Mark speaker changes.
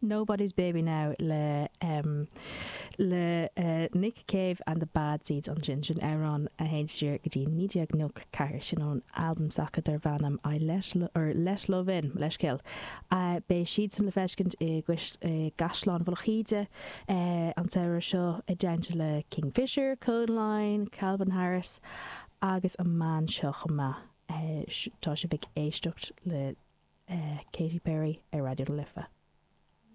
Speaker 1: Nobody's Baby Now le le Nick Cave and the Bad Seeds ansin. Sin amhrán a théann siar go dtí 1994, sin ón albam s'acu darb ainm I Let or Let Love In, mo leithscéal. Beidh siadsan le feiscint i gCaisleán Mhullach Íde an samhradh seo i dteannta le Kingfisher, Kodaline, Calvin Harris agus an mbean seo chomh maith. Tá sibh ag éisteacht le Katy Perry ar Raidió na Life.